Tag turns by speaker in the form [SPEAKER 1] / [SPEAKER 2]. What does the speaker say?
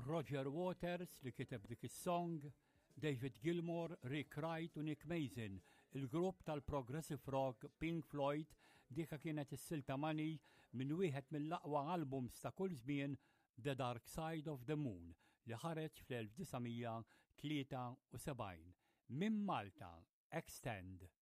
[SPEAKER 1] Roger Waters li kiteb dik is-song, David Gilmour, Rick Wright u Nick Mason, il-grupp tal-progressive rock Pink Floyd, dika kienet is-silta Money minn wieħed mill-aqwa albums ta' kull żmien The Dark Side of the Moon li ħareġ fl-1973. Minn Malta, Extend.